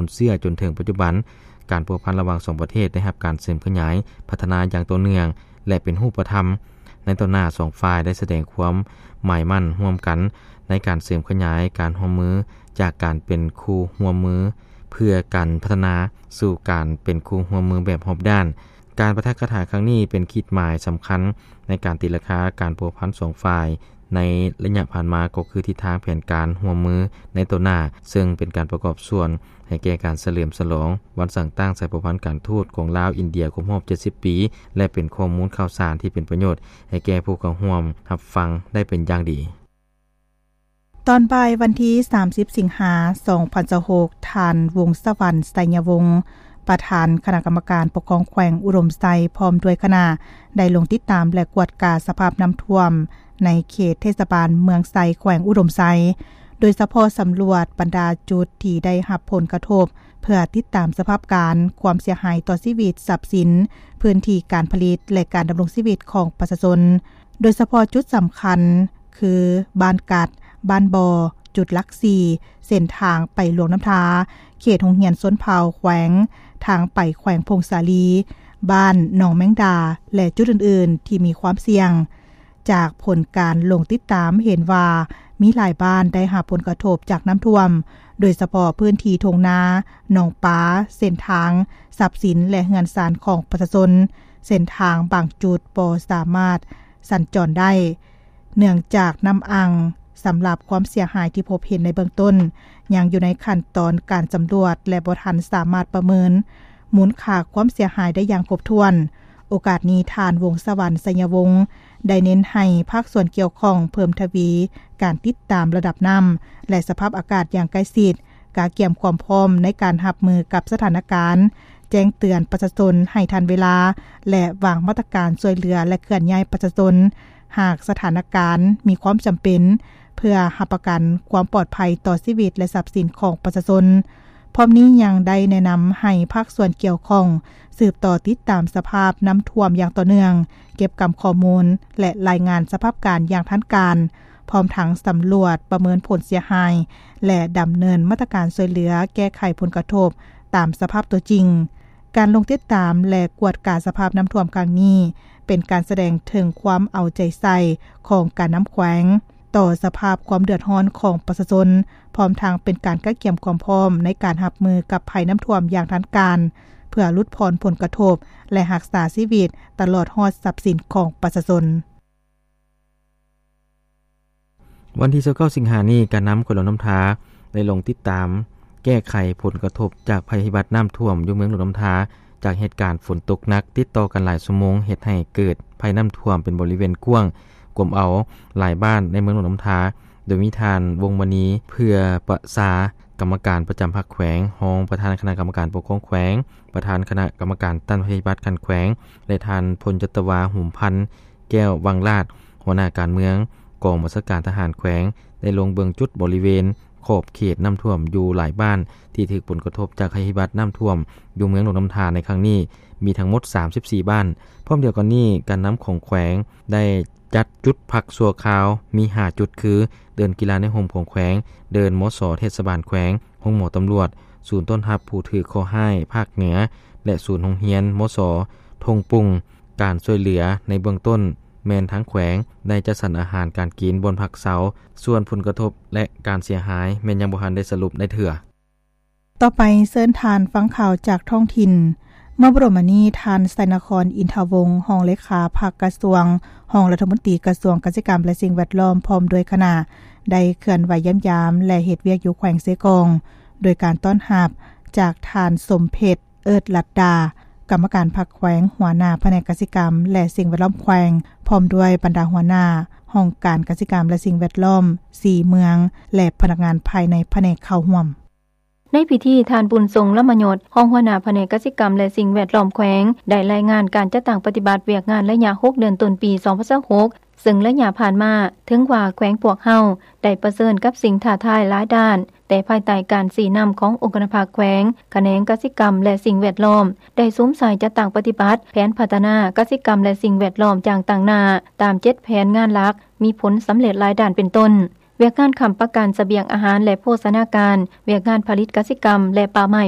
ນເຊື້ອ. ຈົນເຖິງປັດຈຸບັນ, ການພົວພັນລະຫວ່າງສອງປະເທດໄດ້ຮັບການເສີມຂະຫຍາຍ, ພັດທະນາຢ່າງຕໍ່ເນື່ອງ ແລະ ເປັນຮູບປະທຳ. ໃນຕໍ່ໜ້າ, ສອງຝ່າຍໄດ້ສະແດງຄວາມໝາຍໝັ້ນຮ່ວມກັນໃນການເສີມຂະຫຍາຍການຮ່ວມມື ຈາກການເປັນຄູ່ຮ່ວມມືເພື່ອການພັດທະນາ ສູ່ການເປັນຄູ່ຮ່ວມມືແບບຮອບດ້ານ. ການປາຖະກະຖາຄັ້ງນີ້ເປັນຂີດໝາຍສຳຄັນໃນການຕີລາຄາການພົວພັນສອງຝ່າຍໃນໄລຍະຜ່ານມາ, ກໍຄືທິດທາງແຜນການຮ່ວມມືໃນຕໍ່ໜ້າ, ເຊິ່ງເປັນການປະກອບສ່ວນໃຫ້ແກ່ການສະເຫຼີມສະຫຼອງວັນສ້າງຕັ້ງສາຍພົວພັນການທູດຂອງລາວ-ອິນເດຍຄົບຮອບເຈັດສິບປີ ແລະ ເປັນຂໍ້ມູນຂ່າວສານທີ່ເປັນປະໂຫຍດໃຫ້ແກ່ຜູ້ເຂົ້າຮ່ວມຮັບຟັງໄດ້ເປັນຢ່າງດີ. ຕອນບ່າຍວັນທີສາມສິບ ສິງຫາ ສອງພັນຊາວຫົກ, ທ່ານ ວົງສະຫວັນ ໄຊຍະວົງ ປະທານຄະນະກຳມະການປົກຄອງແຂວງອຸດົມໄຊ ພ້ອມດ້ວຍຄະນະ ໄດ້ລົງຕິດຕາມ ແລະ ກວດກາສະພາບນ້ຳຖ້ວມໃນເຂດເທດສະບານເມືອງໄຊ ແຂວງອຸດົມໄຊ, ໂດຍສະເພາະສຳຫຼວດບັນດາຈຸດທີ່ໄດ້ຮັບຜົນກະທົບ ເພື່ອຕິດຕາມສະພາບການຄວາມເສຍຫາຍຕໍ່ຊີວິດ, ຊັບສິນ, ພື້ນທີ່ການຜະລິດ ແລະ ການດຳລົງຊີວິດຂອງປະຊາຊົນ. ໂດຍສະເພາະຈຸດສຳຄັນຄື ບ້ານກັດ, ບ້ານບໍ່, ຈຸດຫຼັກສີ່, ເສັ້ນທາງໄປຫຼວງນ້ຳທາ, ເຂດໂຮງຮຽນຊົນເຜົ່າແຂວງ, ທາງໄປແຂວງຜົ້ງສາລີ, ບ້ານໜອງແມງດາ ແລະ ຈຸດອື່ນໆທີ່ມີຄວາມສ່ຽງ. ຈາກຜົນການລົງຕິດຕາມເຫັນວ່າ ມີຫຼາຍບ້ານໄດ້ຮັບຜົນກະທົບຈາກນ້ຳຖ້ວມ, ໂດຍສະເພາະພື້ນທີ່ທົ່ງນາ, ໜອງປາ, ເສັ້ນທາງ, ຊັບສິນ ແລະ ເຮືອນຊານຂອງປະຊາຊົນ. ເສັ້ນທາງບາງຈຸດບໍ່ສາມາດສັນຈອນໄດ້ ເນື່ອງຈາກນ້ຳອັ່ງ. ສຳລັບຄວາມເສຍຫາຍທີ່ພົບເຫັນໃນເບື້ອງຕົ້ນ ຍັງຢູ່ໃນຂັ້ນຕອນການສຳຫຼວດ ແລະ ບໍ່ທັນສາມາດປະເມີນມູນຄ່າຄວາມເສຍຫາຍໄດ້ຢ່າງຄົບຖ້ວນ. ໂອກາດນີ້, ທ່ານ ວົງສະຫວັນ ໄຊຍະວົງ ໄດ້ເນັ້ນໃຫ້ພາກສ່ວນກ່ຽວຂ້ອງເພີ່ມທະວີການຕິດຕາມລະດັບນ້ຳ ແລະ ສະພາບອາກາດຢ່າງໃກ້ຊິດ, ກະກຽມຄວາມພ້ອມໃນການຮັບມືກັບສະຖານະການ, ແຈ້ງເຕືອນປະຊາຊົນໃຫ້ທັນເວລາ ແລະ ວາງມາດຕະການຊ່ວຍເຫຼືອ ແລະ ເຄື່ອນຍ້າຍປະຊາຊົນ ຫາກສະຖານະການມີຄວາມຈຳເປັນ ເພື່ອຮັບປະກັນຄວາມປອດໄພຕໍ່ຊີວິດ ແລະ ຊັບສິນຂອງປະຊາຊົນ. ພ້ອມນີ້ຍັງໄດ້ແນະນຳໃຫ້ພາກສ່ວນກ່ຽວຂ້ອງສືບຕໍ່ຕິດຕາມສະພາບນ້ຳຖ້ວມຢ່າງຕໍ່ເນື່ອງ, ເກັບກຳຂໍ້ມູນ ແລະ ລາຍງານສະພາບການຢ່າງທັນການ, ພ້ອມທັງສຳຫຼວດປະເມີນຜົນເສຍຫາຍ ແລະ ດຳເນີນມາດຕະການຊ່ວຍເຫຼືອແກ້ໄຂຜົນກະທົບຕາມສະພາບຕົວຈິງ. ການລົງຕິດຕາມ ແລະ ກວດກາສະພາບນ້ຳຖ້ວມຄັ້ງນີ້ ເປັນການສະແດງເຖິງຄວາມເອົາໃຈໃສ່ຂອງການນຳແຂວງ ຕໍ່ສະພາບຄວາມເດືອດຮ້ອນຂອງປະຊາຊົນ, ພ້ອມທັງເປັນການກະກຽມຄວາມພ້ອມໃນການຮັບມືກັບໄພນ້ຳຖ້ວມຢ່າງທັນການ, ເພື່ອຫຼຸດຜ່ອນຜົນກະທົບ ແລະ ຮັກສາຊີວິດຕະຫຼອດຮອດຊັບສິນຂອງປະຊາຊົນ. ວັນທີຊາວເກົ້າ ສິງຫານີ້, ການນຳແຂວງຫຼວງນ້ຳທາໄດ້ລົງຕິດຕາມແກ້ໄຂຜົນກະທົບຈາກໄພພິບັດນ້ຳຖ້ວມຢູ່ເມືອງຫຼວງນ້ຳທາ ຈາກເຫດການຝົນຕົກໜັກຕິດຕໍ່ກັນຫຼາຍຊົ່ວໂມງ ເຮັດໃຫ້ເກີດໄພນ້ຳຖ້ວມເປັນບໍລິເວນກວ້າງ ກວມເອົາຫຼາຍບ້ານໃນເມືອງຫຼວງນ້ຳທາ, ໂດຍມີທ່ານ ວົງມະນີ ເຜື່ອປະຊາ ກຳມະການປະຈຳພັກແຂວງ, ຮອງປະທານຄະນະກຳມະການປົກຄອງແຂວງ, ປະທານຄະນະກຳມະການຕ້ານໄພພິບັດຂັ້ນແຂວງ ແລະ ທ່ານ ພົນຈັດຕະວາ ຫຸມພັນ ແກ້ວວັງລາດ ຫົວໜ້າການເມືອງ ກອງບັນຊາການທະຫານແຂວງ ໄດ້ລົງເບິ່ງຈຸດບໍລິເວນຂອບເຂດນ້ຳຖ້ວມຢູ່ຫຼາຍບ້ານທີ່ຖືກຜົນກະທົບຈາກໄພພິບັດນ້ຳຖ້ວມຢູ່ເມືອງຫຼວງນ້ຳທາໃນຄັ້ງນີ້ ມີທັງໝົດສາມສິບສີ່ບ້ານ. ພ້ອມດຽວກັນນີ້, ການນຳຂອງແຂວງໄດ້ຈັດຈຸດພັກຊົ່ວຄາວມີຫ້າຈຸດ ຄື ເດີ່ນກິລາໃນຮົ່ມຂອງແຂວງ, ເດີ່ນ ມສ ເທດສະບານແຂວງ, ໂຮງໝໍຕຳຫຼວດ, ສູນຕ້ອນຮັບຜູ້ຖືກເຄາະຮ້າຍພາກເໜືອ ແລະ ສູນໂຮງຮຽນ ມສ ທົ່ງປຸງ. ການຊ່ວຍເຫຼືອໃນເບື້ອງຕົ້ນແມ່ນທາງແຂວງໄດ້ຈັດສັນອາຫານການກິນ, ບ່ອນພັກເຊົາ, ສ່ວນຜົນກະທົບ ແລະ ການເສຍຫາຍແມ່ນຍັງບໍ່ທັນໄດ້ສະຫຼຸບໄດ້ເທື່ອ. ຕໍ່ໄປເຊີນທ່ານຟັງຂ່າວຈາກທ້ອງຖິ່ນ. ເມື່ອບໍ່ດົນມານີ້, ທ່ານ ໄຊນະຄອນ ອິນທະວົງ ຮອງເລຂາພັກກະຊວງ, ຮອງລັດຖະມົນຕີກະຊວງກະສິກຳ ແລະ ສິ່ງແວດລ້ອມ ພ້ອມດ້ວຍຄະນະ ໄດ້ເຄື່ອນໄຫວຢ້ຽມຢາມ ແລະ ເຮັດວຽກຢູ່ແຂວງເຊກອງ ໂດຍການຕ້ອນຮັບຈາກທ່ານ ສົມເພັດ ເອີດລັດດາ ກຳມະການພັກແຂວງ, ຫົວໜ້າພະແນກກະສິກຳ ແລະ ສິ່ງແວດລ້ອມແຂວງ, ພ້ອມດ້ວຍບັນດາຫົວໜ້າຫ້ອງການກະສິກຳ ແລະ ສິ່ງແວດລ້ອມ ສີ່ເມືອງ ແລະ ພະນັກງານພາຍໃນພະແນກເຂົ້າຮ່ວມ. ໃນພິທີ, ທ່ານ ບຸນຊົງ ລຳມະຍົດ ຮອງຫົວໜ້າພະແນກກະສິກຳ ແລະ ສິ່ງແວດລ້ອມແຂວງ ໄດ້ລາຍງານການຈັດຕັ້ງປະຕິບັດວຽກງານໄລຍະຫົກເດືອນຕົ້ນປີສອງພັນຊາວຫົກ ເຊິ່ງໄລຍະຜ່ານມາ, ເຖິງວ່າແຂວງພວກເຮົາໄດ້ປະເຊີນກັບສິ່ງທ້າທາຍຫຼາຍດ້ານ, ແຕ່ພາຍໃຕ້ການຊີ້ນຳຂອງອົງຄະນະພາກແຂວງ, ຂະແໜງກະສິກຳ ແລະ ສິ່ງແວດລ້ອມ ໄດ້ສຸມໃສ່ຈັດຕັ້ງປະຕິບັດແຜນພັດທະນາກະສິກຳ ແລະ ສິ່ງແວດລ້ອມຢ່າງຕັ້ງໜ້າ, ຕາມເຈັດແຜນງານຫຼັກ ມີຜົນສຳເລັດຫຼາຍດ້ານເປັນຕົ້ນ ວຽກງານຄ້ຳປະກັນສະບຽງອາຫານ ແລະ ໂພຊະນາການ, ວຽກງານຜະລິດກະສິກຳ ແລະ ປ່າໄມ້